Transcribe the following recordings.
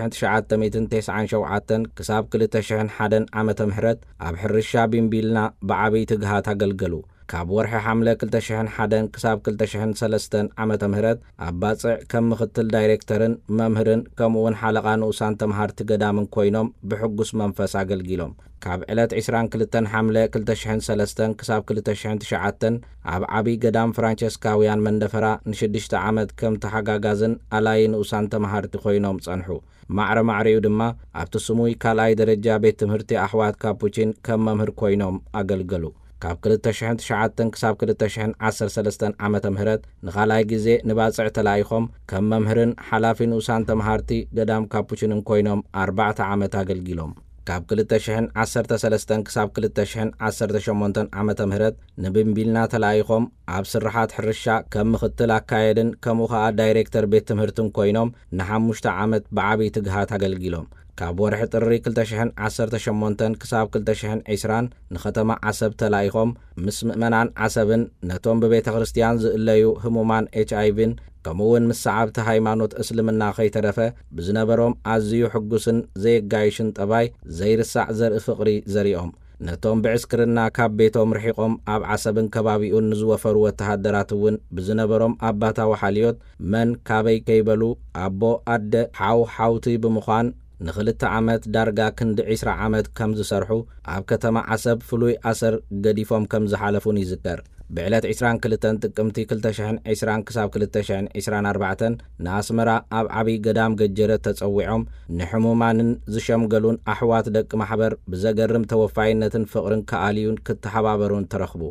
ትሽዓተ ሚእትን ተስዓን ሸውዓተን ክሳብ ክልተ ሽሕን ሓደን ዓመተ ምህረት ኣብ ሕርሻ ቢምቢልና ብዓብይ ትግሃት ኣገልገሉ። ካብ ወርሒ ሓምለ ክልተ ሽሕን ሓደን ክሳብ ክልተ ሽሕን ሰለስተን ዓመተ ምህረት ኣብ ባጽዕ ከም ምኽትል ዳይሬክተርን መምህርን ከምኡውን ሓለቓ ንኡሳን ተምሃርቲ ገዳምን ኮይኖም ብሕጉስ መንፈስ ኣገልጊሎም። ካብ ዕለት ዕስራን ክልተን ሓምለ ክልተ ሽሕን ሰለስተን ክሳብ ክልተ ሽሕን ትሽዓተን ኣብ ዓብይ ገዳም ፍራንቸስካውያን መንደፈራ ንሽዱሽተ ዓመት ከም ተሓጋጋዝን ኣላይ ንኡሳን ተምሃርቲ ኮይኖም ጸንሑ። ማዕረ ማዕሪኡ ድማ ኣብቲ ስሙይ ካልኣይ ደረጃ ቤት ትምህርቲ ኣሕዋት ካፑቺን ከም መምህር ኮይኖም ኣገልገሉ። ካብ ክልተ ሽሕን ትሽዓተን ክሳብ ክልተ ሽሕን ዓሰርተ ሰለስተን ዓመተ ምህረት ንኻልኣይ ግዜ ንባጽዕ ተላኢኾም ከም መምህርን ሓላፊ ንኡሳን ተምሃርቲ ገዳም ካፑቺንን ኮይኖም ኣርባዕተ ዓመት ኣገልጊሎም። ካብ ክልተ ሽሕን ዓሰርተ ሰለስተን ክሳብ ክልተ ሽሕን ዓሰርተ ሸሞንተን ዓመተ ምህረት ንብምቢልና ተላኢኾም ኣብ ስርሓት ሕርሻ ከም ምኽትል ኣካየድን ከምኡ ኸኣ ዳይሬክተር ቤት ትምህርትን ኮይኖም ንሓሙሽተ ዓመት ብዓብይ ትግሃት ኣገልጊሎም። ካብ ወርሒ ጥሪ ክልተ ሽሕን ዓሰርተ ሸሞንተን ክሳብ ክልተ ሽሕን ዕስራን ንኸተማ ዓሰብ ተላኢኾም ምስ ምእመናን ዓሰብን ነቶም ብቤተ ክርስቲያን ዝእለዩ ህሙማን ኤች ኣይ ቪን ከምኡውን ምስ ሰዓብቲ ሃይማኖት እስልምና ከይተረፈ ብዝነበሮም ኣዝዩ ሕጉስን ዘየጋይሽን ጠባይ ዘይርሳዕ ዘርኢ ፍቕሪ ዘሪኦም። ነቶም ብዕስክርና ካብ ቤቶም ርሒቖም ኣብ ዓሰብን ከባቢኡን ንዝወፈሩ ወተሃደራት እውን ብዝነበሮም ኣባታዊ ሓልዮት መን ካበይ ከይበሉ ኣቦ ኣደ ሓው ሓውቲ ብምዃን ንኽልተ ዓመት ዳርጋ ክንዲ ዕስራ ዓመት ከም ዝሰርሑ ኣብ ከተማ ዓሰብ ፍሉይ ኣሰር ገዲፎም ከም ዝሓለፉን ይዝከር። ብዕለት ዕስራን ክልተን ጥቅምቲ ክልተ ሽሕን ዕስራን ክሳብ ክልተ ሽሕን ዕስራን ኣርባዕተን ንኣስመራ ኣብ ዓብይ ገዳም ገጀረት ተጸዊዖም ንሕሙማንን ዝሸምገሉን ኣሕዋት ደቂ ማሕበር ብዘገርም ተወፋይነትን ፍቕርን ክኣልዩን ክተሓባበሩን ተረኽቡ።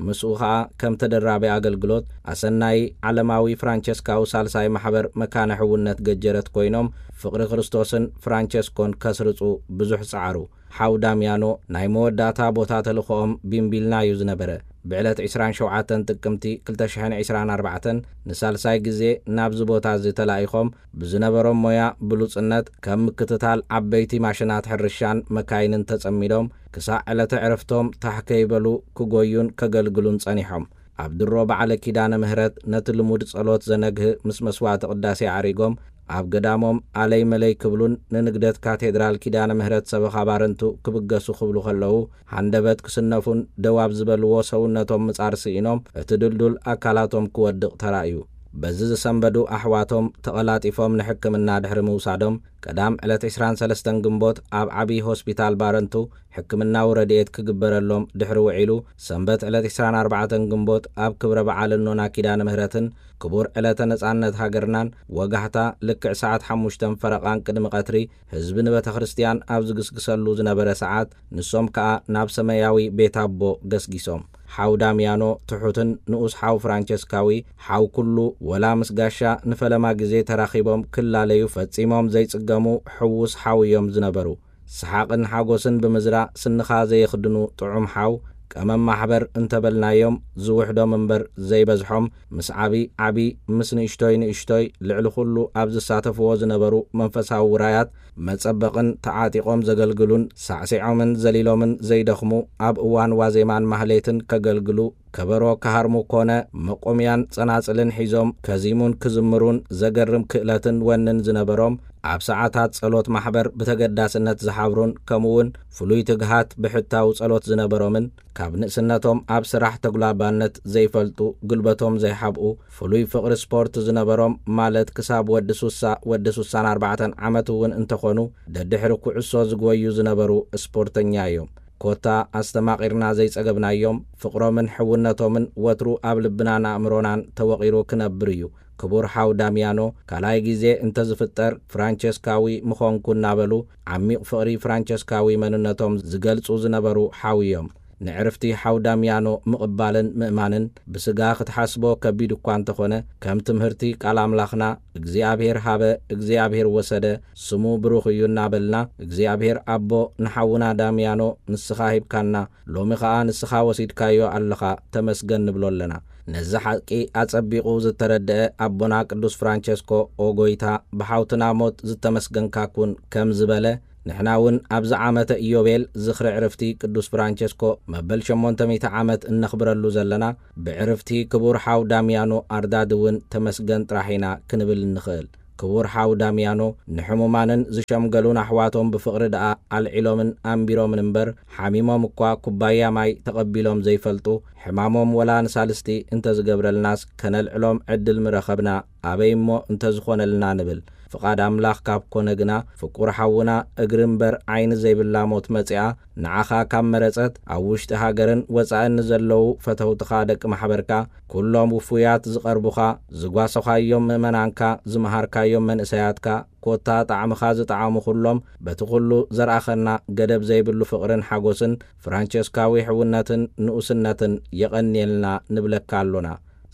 ምስኡ ኸኣ ከም ተደራቢ ኣገልግሎት ኣሰናዪ ዓለማዊ ፍራንቸስካዊ ሳልሳይ ማሕበር መካነ ሕውነት ገጀረት ኮይኖም ፍቕሪ ክርስቶስን ፍራንቸስኮን ከስርጹ ብዙሕ ጸዓሩ። ሓው ዳምያኖ ናይ መወዳእታ ቦታ ተልእኾኦም ቢምቢልና እዩ ዝነበረ። ብዕለት ዕስራን ሸውዓተን ጥቅምቲ ክልተ ሽሕን ዕስራን ኣርባዕተን ንሳልሳይ ግዜ ናብዚ ቦታ እዚ ተላኢኾም ብዝነበሮም ሞያ ብሉጽነት ከም ምክትታል ዓበይቲ ማሽናት ሕርሻን መካይንን ተጸሚዶም ክሳዕ ዕለተ ዕረፍቶም ታሕ ከይበሉ ክጎዩን ከገልግሉን ጸኒሖም። ኣብ ድሮ በዓለ ኪዳነ ምህረት ነቲ ልሙድ ጸሎት ዘነግህ ምስ መስዋዕቲ ቅዳሴ ኣዕሪጎም ኣብ ገዳሞም ኣለይ መለይ ክብሉን ንንግደት ካቴድራል ኪዳነ ምህረት ሰበኻ ባረንቱ ክብገሱ ክብሉ ከለዉ ሃንደበት ክስነፉን ደው ኣብ ዝበልዎ ሰውነቶም ምጻር ስኢኖም እቲ ድልዱል ኣካላቶም ክወድቕ ተራእዩ። በዚ ዝሰንበዱ ኣሕዋቶም ተቐላጢፎም ንሕክምና ድሕሪ ምውሳዶም ቀዳም ዕለት ዕስራን ሰለስተን ግንቦት ኣብ ዓብዪ ሆስፒታል ባረንቱ ሕክምናዊ ረድኤት ክግበረሎም ድሕሪ ውዒሉ ሰንበት ዕለት ዕስራን ኣርባዕተን ግንቦት ኣብ ክብረ በዓል እኖና ኪዳነ ምህረትን ክቡር ዕለተ ነጻነት ሃገርናን ወጋሕታ ልክዕ ሰዓት ሓሙሽተን ፈረቓን ቅድሚ ቀትሪ ህዝቢ ንቤተ ክርስቲያን ኣብ ዝግስግሰሉ ዝነበረ ሰዓት ንሶም ከኣ ናብ ሰማያዊ ቤት ኣቦ ገስጊሶም። ሓው ዳምያኖ ትሑትን ንኡስ ሓው ፍራንቸስካዊ ሓው ኩሉ ወላ ምስ ጋሻ ንፈለማ ግዜ ተራኺቦም ክላለዩ ፈጺሞም ዘይጽገሙ ሕዉስ ሓው እዮም ዝነበሩ። ሰሓቕን ሓጎስን ብምዝራእ ስንኻ ዘየኽድኑ ጥዑም ሓው ቀመም ማሕበር እንተበልናዮም ዝውሕዶም እምበር ዘይበዝሖም ምስ ዓቢ ዓቢ ምስ ንእሽቶይ ንእሽቶይ ልዕሊ ኩሉ ኣብ ዝሳተፍዎ ዝነበሩ መንፈሳዊ ውራያት መጸበቕን ተዓጢቖም ዘገልግሉን ሳዕሲዖምን ዘሊሎምን ዘይደኽሙ ኣብ እዋን ዋዜማን ማህሌትን ከገልግሉ ከበሮ ክሃርሙ ኮነ መቆምያን ጸናጽልን ሒዞም ከዚሙን ክዝምሩን ዘገርም ክእለትን ወንን ዝነበሮም ኣብ ሰዓታት ጸሎት ማሕበር ብተገዳስነት ዝሓብሩን ከምኡውን ፍሉይ ትግሃት ብሕታዊ ጸሎት ዝነበሮምን ካብ ንእስነቶም ኣብ ስራሕ ተጉላባነት ዘይፈልጡ ግልበቶም ዘይሓብኡ ፍሉይ ፍቕሪ ስፖርት ዝነበሮም ማለት ክሳብ ወዲ ሱሳ ወዲ ሱሳን ኣርባዕተን ዓመት እውን እንተኾኑ ደድሕሪ ኩዕሶ ዝጎዩ ዝነበሩ ስፖርተኛ እዮም። ኮታ ኣስተማቒርና ዘይጸገብናዮም ፍቕሮምን ሕውነቶምን ወትሩ ኣብ ልብናን ኣእምሮናን ተወቒሩ ክነብር እዩ። ክቡር ሓው ዳምያኖ ካልኣይ ግዜ እንተዝፍጠር ፍራንቸስካዊ ምኾንኩ እናበሉ ዓሚቕ ፍቕሪ ፍራንቸስካዊ መንነቶም ዝገልጹ ዝነበሩ ሓው እዮም። ንዕርፍቲ ሓው ዳምያኖ ምቕባልን ምእማንን ብስጋ ክትሓስቦ ከቢድ እኳ እንተኾነ ከም ትምህርቲ ቃል ኣምላኽና እግዚኣብሔር ሃበ እግዚኣብሔር ወሰደ ስሙ ብሩኽ እዩ እናበልና እግዚኣብሔር ኣቦ ንሓውና ዳምያኖ ንስኻ ሂብካና ሎሚ ኸኣ ንስኻ ወሲድካዮ ኣለኻ ተመስገን ንብሎ ኣለና። ነዚ ሓቂ ኣጸቢቑ ዝተረድአ ኣቦና ቅዱስ ፍራንቸስኮ ኦ ጎይታ ብሓውትና ሞት ዝተመስገንካ ኩን ከም ዝበለ ንሕና እውን ኣብዚ ዓመተ ኢዮቤል ዝኽሪ ዕርፍቲ ቅዱስ ፍራንቸስኮ መበል ሸሞንተ ሚእቲ ዓመት እነኽብረሉ ዘለና ብዕርፍቲ ክቡር ሓው ዳምያኖ ኣርዳድ እውን ተመስገን ጥራሕ ኢና ክንብል እንኽእል። ክቡር ሓው ዳሚያኖ፣ ንሕሙማንን ዝሸምገሉን ኣሕዋቶም ብፍቕሪ ደኣ ኣልዒሎምን ኣንቢሮምን እምበር፣ ሓሚሞም እኳ ኩባያ ማይ ተቐቢሎም ዘይፈልጡ፣ ሕማሞም ወላ ንሳልስቲ እንተዝገብረልናስ ከነልዕሎም ዕድል ምረኸብና፣ ኣበይ እሞ እንተዝኾነልና ንብል። ፍቓድ ኣምላኽ ካብ ኮነ ግና፣ ፍቁር ሓውና እግሪ እምበር ዓይኒ ዘይብላ ሞት መጺኣ፣ ንዓኻ ካብ መረጸት፣ ኣብ ውሽጢ ሃገርን ወጻእን ንዘለዉ ፈተውትኻ ደቂ ማሕበርካ፣ ኩሎም ውፉያት ዝቐርቡኻ፣ ዝጓሰኻዮም ምእመናንካ፣ ዝመሃርካዮም መንእሰያትካ፣ ኮታ ጣዕምኻ ዝጠዓሙ ኩሎም፣ በቲ ኩሉ ዘርኣኸና ገደብ ዘይብሉ ፍቕርን ሓጎስን ፍራንቸስካዊ ሕውነትን ንኡስነትን የቐንየልና ንብለካ ኣሎና።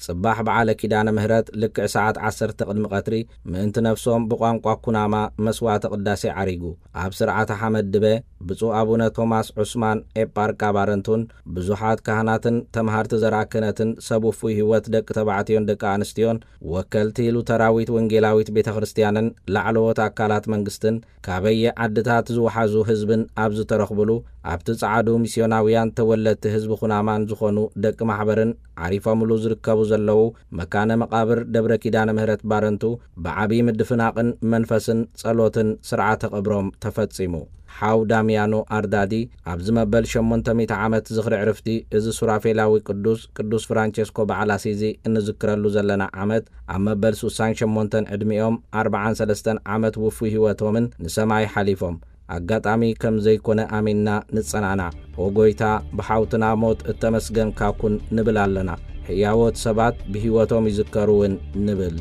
ጽባሕ በዓለ ኪዳነ ምህረት ልክዕ ሰዓት ዓሰርተ ቅድሚ ቀትሪ ምእንቲ ነፍሶም ብቋንቋ ኩናማ መስዋዕተ ቅዳሴ ዓሪጉ። ኣብ ስርዓተ ሓመድ ድበ ብፁዕ ኣቡነ ቶማስ ዑስማን ኤጳርቃ ባረንቱን ብዙሓት ካህናትን ተምሃርቲ ዘርኣ ክህነትን ሰብ ውፉይ ህይወት ደቂ ተባዕትዮን ደቂ ኣንስትዮን ወከልቲ ሉተራዊት ወንጌላዊት ቤተ ክርስቲያንን ላዕለዎት ኣካላት መንግስትን ካበየ ዓድታት ዝወሓዙ ህዝብን ኣብ ዝተረኽብሉ ኣብቲ ጸዓዱ ሚስዮናውያን ተወለድቲ ህዝቢ ኩናማን ዝኾኑ ደቂ ማሕበርን ዓሪፎምሉ ዝርከቡ ዘለዉ መካነ መቓብር ደብረ ኪዳነ ምህረት ባረንቱ ብዓቢ ምድፍናቕን መንፈስን ጸሎትን ስርዓተ ቀብሮም ተፈጺሙ። ሓው ዳሚያኖ ኣርዳዲ ኣብዚ መበል ሸሞንተ ሚእቲ ዓመት ዝኽሪ ዕርፍቲ እዚ ሱራፌላዊ ቅዱስ፣ ቅዱስ ፍራንቸስኮ በዓል ኣሲዚ እንዝክረሉ ዘለና ዓመት ኣብ መበል ሱሳን ሸሞንተን ዕድሚኦም ኣርብዓን ሰለስተን ዓመት ውፉይ ህይወቶምን ንሰማይ ሓሊፎም። ኣጋጣሚ ከም ዘይኮነ ኣሚንና ንጸናና። ኦ ጎይታ፣ ብሓውትና ሞት እተመስገንካ ኩን ንብል ኣለና። ሕያዎት ሰባት ብህይወቶም ይዝከሩ እውን ንብል።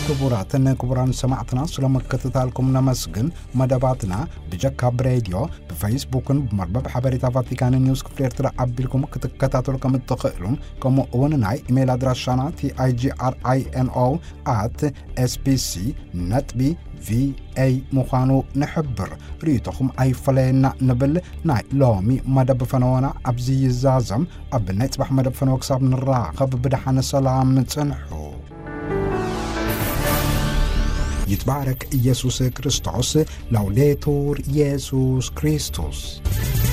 ክቡራትን ክቡራን ሰማዕትና፣ ስለ ምክትታልኩም ነመስግን። መደባትና ብጀካ ብሬድዮ፣ ብፌስቡክን ብመርበብ ሓበሬታ ቫቲካን ኒውስ ክፍሊ ኤርትራ ኣቢልኩም ክትከታተሉ ከም እትኽእሉን፣ ከምኡ እውን ናይ ኢሜይል ኣድራሻና ቲ ኣይ ጂ ኣር ኣይ ኤን ኦ ኣት ኤስ ቢ ሲ ነጥቢ ቪ ኤ ምዃኑ ንሕብር። ርእይቶኹም ኣይፈለየና ንብል። ናይ ሎሚ መደብ ፈነወና ኣብዚ ይዛዘም። ኣብ ናይ ጽባሕ መደብ ፈነወ ክሳብ ንራኸብ ብደሓን ሰላም ጽንሑ። ይትባረክ ኢየሱስ ክርስቶስ። ላውዴቱር ኢየሱስ ክርስቶስ።